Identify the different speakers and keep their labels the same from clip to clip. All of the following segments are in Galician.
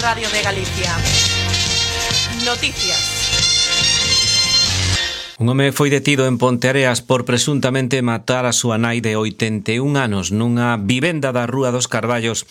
Speaker 1: Radio de Galicia. Noticias.
Speaker 2: Un home foi detido en Ponteareas por presuntamente matar a súa nai de 81 anos nunha vivenda da Rúa dos Carballos,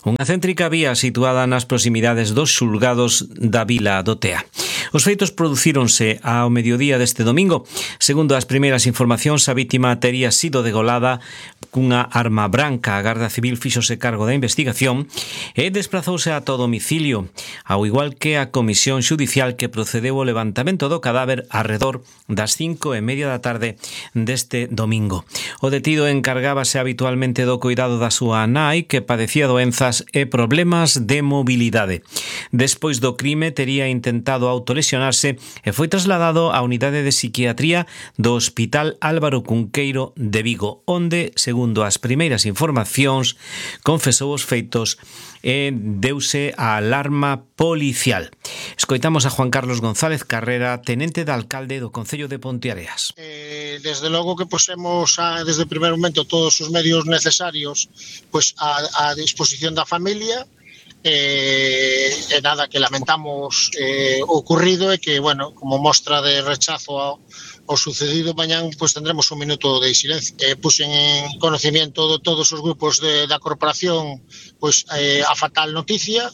Speaker 2: unha céntrica vía situada nas proximidades dos xulgados da Vila do Tea. Os feitos producíronse ao mediodía deste domingo. Segundo as primeiras informacións, a vítima tería sido degolada cunha arma branca. A Garda Civil fíxose cargo da investigación e desprazouse ata o domicilio, ao igual que a Comisión Xudicial que procedeu ao levantamento do cadáver arredor das 5:30 da tarde deste domingo. O detido encargábase habitualmente do cuidado da súa nai, que padecía doenzas e problemas de mobilidade. Despois do crime tería intentado autolesionarse e foi trasladado á unidade de psiquiatría do Hospital Álvaro Cunqueiro de Vigo, onde, segundo as primeiras informacións, confesou os feitos e deuse a alarma policial. Escoitamos a Juan Carlos González Carrera, tenente de alcalde do Concello de Ponteareas.
Speaker 3: Desde logo que posemos desde o primeiro momento todos os medios necesarios a disposición da familia. Nada, que lamentamos o ocurrido e que, bueno, como mostra de rechazo ao sucedido, mañán tendremos un minuto de silencio. Puxen en conocimiento de todos os grupos da corporación a fatal noticia.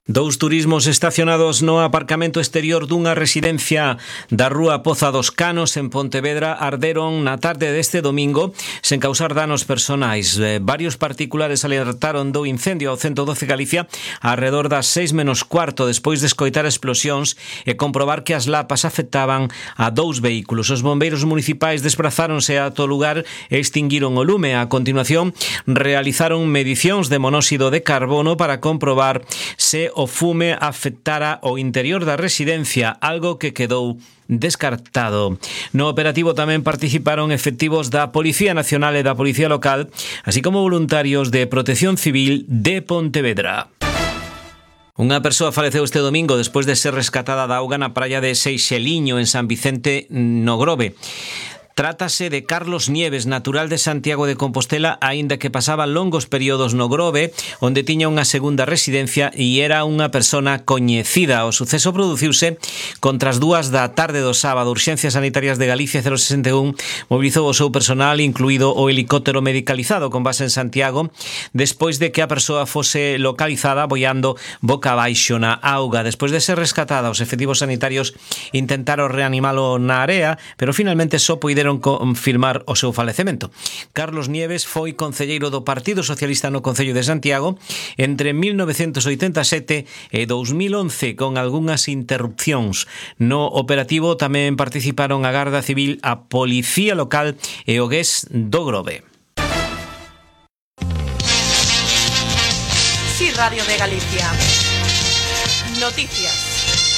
Speaker 2: Dous turismos estacionados no aparcamento exterior dunha residencia da Rúa Poza dos Canos en Pontevedra arderon na tarde deste domingo sen causar danos personais. Varios particulares alertaron do incendio ao 112 Galicia arredor das 6:15 despois de escoitar explosións e comprobar que as lapas afectaban a 2 vehículos. Os bombeiros municipais desprazáronse ata o lugar e extinguiron o lume. A continuación realizaron medicións de monóxido de carbono para comprobar se o fume afectara o interior da residencia, algo que quedou descartado. No operativo tamén participaron efectivos da Policía Nacional e da Policía Local, así como voluntarios de Protección Civil de Pontevedra. Unha persoa faleceu este domingo despois de ser rescatada da auga na praia de Seixeliño, en San Vicente no Grove. Trátase de Carlos Nieves, natural de Santiago de Compostela, aínda que pasaba longos períodos no Grove, onde tiña unha segunda residencia e era unha persona coñecida. O suceso produciuse contra as 2 da tarde do sábado. Urxencias Sanitarias de Galicia 061 mobilizou o seu personal, incluído o helicóptero medicalizado con base en Santiago, despois de que a persoa fose localizada boiando boca abaixo na auga. Despois de ser rescatada, os efectivos sanitarios intentaron reanimalo na area, pero finalmente só puideron confirmar o seu falecemento. Carlos Nieves foi concelleiro do Partido Socialista no Concello de Santiago entre 1987 e 2011, con algunhas interrupcións. No operativo tamén participaron a Garda Civil, a Policía Local e o GES do Grove.
Speaker 1: Sí, Radio de Galicia. Noticias.